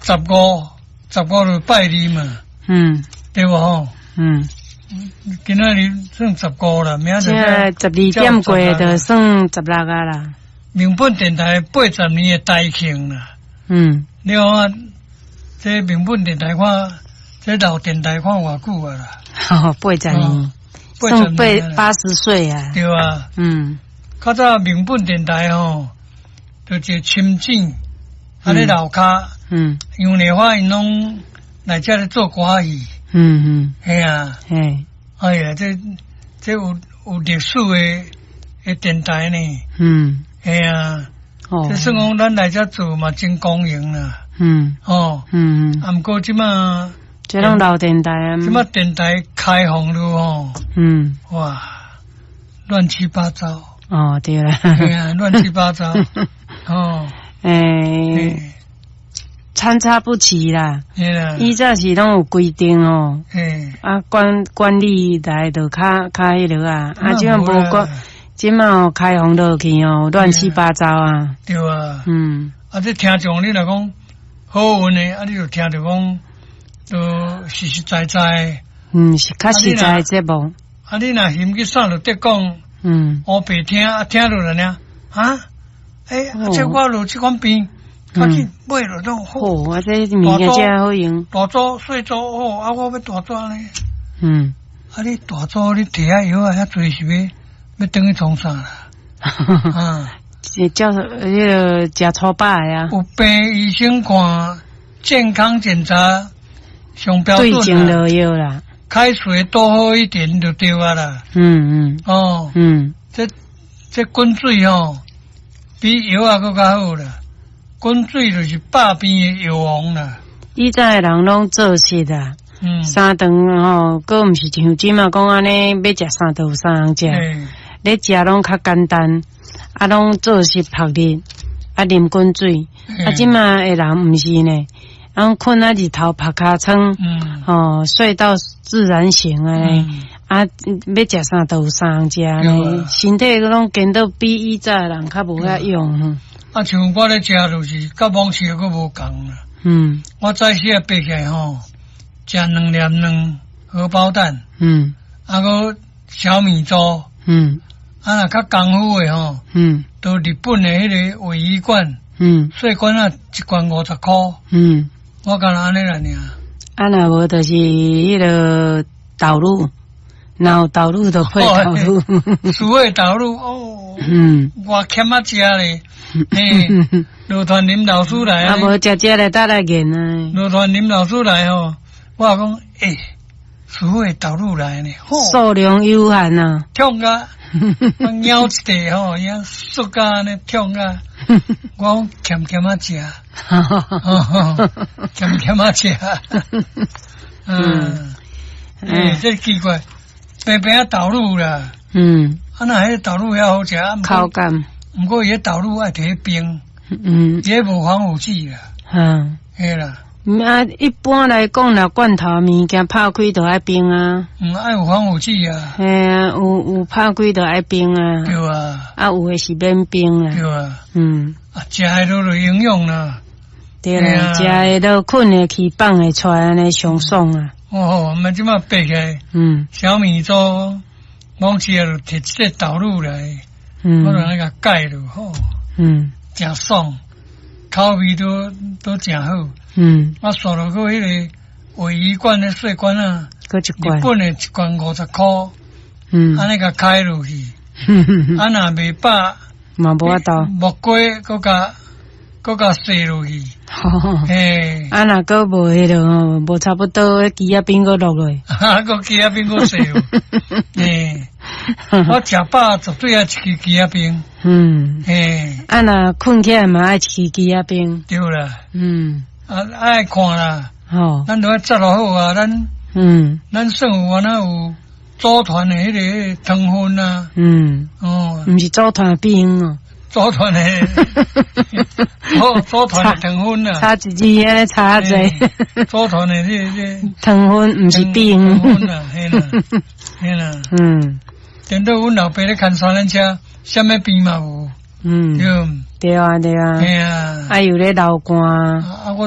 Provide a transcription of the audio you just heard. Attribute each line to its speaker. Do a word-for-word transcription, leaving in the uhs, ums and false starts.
Speaker 1: 十五，十五就拜二嘛。
Speaker 2: 嗯。
Speaker 1: 對無吼？
Speaker 2: 嗯。
Speaker 1: 今仔日算十五啦，明仔
Speaker 2: 載十二點過就算十六啊啦。
Speaker 1: 民本電台八十年的台慶啦。
Speaker 2: 嗯。
Speaker 1: 你看，這民本電台看，這老電台看偌久啊啦？
Speaker 2: 八十年，算八八十歲啊。
Speaker 1: 對啊。
Speaker 2: 嗯。
Speaker 1: 較早民本電台吼，就一個深井，啊咧樓跤，
Speaker 2: 嗯，
Speaker 1: 楊麗花𪜶攏來遮咧做歌戲。
Speaker 2: 嗯嗯。
Speaker 1: 嘿啊。
Speaker 2: 嘿。
Speaker 1: 哎呀，這這有有歷史的的電台呢。
Speaker 2: 嗯。
Speaker 1: 嘿啊。
Speaker 2: 哦。
Speaker 1: 這算講咱來遮做嘛，真光榮啦。
Speaker 2: 嗯。
Speaker 1: 哦。
Speaker 2: 嗯嗯。
Speaker 1: 啊，毋過這馬，
Speaker 2: 這攏老電台啊。
Speaker 1: 這馬電台開放了吼。
Speaker 2: 嗯。
Speaker 1: 哇，亂七八糟。
Speaker 2: 哦，對啦。
Speaker 1: 對啊，亂七八糟。哦。
Speaker 2: 欸，參差不齊啦。以前是攏有規定哦。啊，管管理來就較較彼落啊。啊，這馬無管，這馬開放落去哦，亂七八糟啊。
Speaker 1: 對啊。
Speaker 2: 嗯。
Speaker 1: 啊，這聽眾你若講好運的，啊，你就聽著講，都實實在在。
Speaker 2: 嗯，是較實在的節目。
Speaker 1: 啊，你若嫌去啥就得講。
Speaker 2: 嗯。
Speaker 1: 烏白聽啊，聽落來呢？啊？欸，啊，這我有這款病，較緊買落攏好。
Speaker 2: 哦，啊，這物件真好用。
Speaker 1: 大組細組哦，啊，我欲大組呢。
Speaker 2: 嗯。
Speaker 1: 啊，你大組你提遐藥啊，遐濟是欲欲轉去創啥啦？啊，
Speaker 2: 是叫彼个食粗飽的啊。
Speaker 1: 有病醫生看健康檢查上標準。
Speaker 2: 對症落藥啦。
Speaker 1: 開水多喝一點就對啊啦。
Speaker 2: 嗯嗯。
Speaker 1: 哦。
Speaker 2: 嗯。
Speaker 1: 這這滾水吼，比藥仔閣較好啦。滾水就是百病的藥王啦。
Speaker 2: 以前的人攏做實啊。
Speaker 1: 嗯。
Speaker 2: 三頓吼，閣毋是像這馬講按呢，欲食啥都有啥通食。咧食攏較簡單，啊，攏做實曝熱，啊，啉滾水。啊，這馬的人毋是呢，啊，睏啊日頭曝尻川，吼，睡到自然醒按呢，啊，欲食啥都有啥通食呢，身體攏顛倒比以早的人較無遐勇。
Speaker 1: 啊，像我咧食就是佮往時閣無仝啦。
Speaker 2: 嗯。
Speaker 1: 我早時啊爬起來吼，食兩粒卵荷包蛋。
Speaker 2: 嗯。
Speaker 1: 啊，閣小米粥。
Speaker 2: 嗯。
Speaker 1: 啊，若較功夫的吼，
Speaker 2: 嗯，
Speaker 1: 到日本的彼个鮪魚罐，
Speaker 2: 嗯，
Speaker 1: 細罐仔一罐五十箍。
Speaker 2: 嗯。
Speaker 1: 我干焦按呢爾。
Speaker 2: 啊，若無就是彼个豆乳，若有豆乳就配豆乳。
Speaker 1: 蘇打豆乳哦。
Speaker 2: 嗯。
Speaker 1: 偌欠仔食咧，嘿，羅傳林老師來
Speaker 2: 啊，無食食咧，搭來練啊。
Speaker 1: 羅傳林老師來吼，我講欸，蘇打豆乳來呢，
Speaker 2: 數量有限啊。
Speaker 1: 痛甲，我咬一塊吼，伊縮甲按呢痛甲，我講欠欠仔食，欠欠仔食，嗯，欸，這奇怪，平平仔豆乳啦，
Speaker 2: 嗯，
Speaker 1: 啊若彼豆乳遐好食，
Speaker 2: 口感，
Speaker 1: 毋過伊彼豆乳愛提去冰，
Speaker 2: 嗯，
Speaker 1: 伊彼無防腐劑啦，
Speaker 2: 嗯，
Speaker 1: 嘿啦。
Speaker 2: 啊，一般來講，若罐頭物件拍開就愛冰啊。
Speaker 1: 嗯，愛有防腐劑啊。
Speaker 2: 嘿啊，有有拍開就愛冰啊。
Speaker 1: 對啊。
Speaker 2: 啊，有的是免冰啊。
Speaker 1: 對啊。
Speaker 2: 嗯。
Speaker 1: 啊，食的都有營養啦。
Speaker 2: 對啦，食的都睏會去，放會出來，按呢上爽啊。
Speaker 1: 哦，我們這馬爬起來，
Speaker 2: 嗯，
Speaker 1: 小米粥，往時就提這個豆乳來，
Speaker 2: 嗯，
Speaker 1: 我就按呢共蓋落吼，
Speaker 2: 嗯，
Speaker 1: 誠爽，口味都都誠好。
Speaker 2: 嗯，
Speaker 1: 啊，煞落閣彼个鮪魚罐的細罐仔，
Speaker 2: 閣一罐，
Speaker 1: 日本的一罐五十箍，
Speaker 2: 嗯，
Speaker 1: 按呢共開落去，啊，若袂飽，
Speaker 2: 嘛無法度，
Speaker 1: 木瓜閣共閣共洗落去，嘿，
Speaker 2: 啊，若閣無彼落吼，無差不多，枝仔冰閣落落，
Speaker 1: 哈，閣枝仔冰閣洗落，嘿，我食飽絕對愛一支枝仔冰，
Speaker 2: 嗯，
Speaker 1: 嘿，
Speaker 2: 啊，若睏起來嘛愛一支枝仔冰，
Speaker 1: 對啦，
Speaker 2: 嗯。
Speaker 1: 啊，愛看啦，
Speaker 2: 吼，
Speaker 1: 咱都愛紮落好啊，咱，
Speaker 2: 嗯，
Speaker 1: 咱算有安怎有組團的彼个糖分啊，
Speaker 2: 嗯，
Speaker 1: 哦，
Speaker 2: 毋是組團冰哦，
Speaker 1: 組團的，組組團的糖分啊，
Speaker 2: 差一字按呢差濟，
Speaker 1: 組團的這這
Speaker 2: 糖分毋是冰，
Speaker 1: 糖分啊，嘿啦，嘿啦，
Speaker 2: 嗯，
Speaker 1: 顛倒阮老爸咧牽三輪車，啥物病嘛無，
Speaker 2: 嗯，
Speaker 1: 對，
Speaker 2: 對啊對啊，
Speaker 1: 嘿啊，
Speaker 2: 啊又咧流汗，
Speaker 1: 啊我。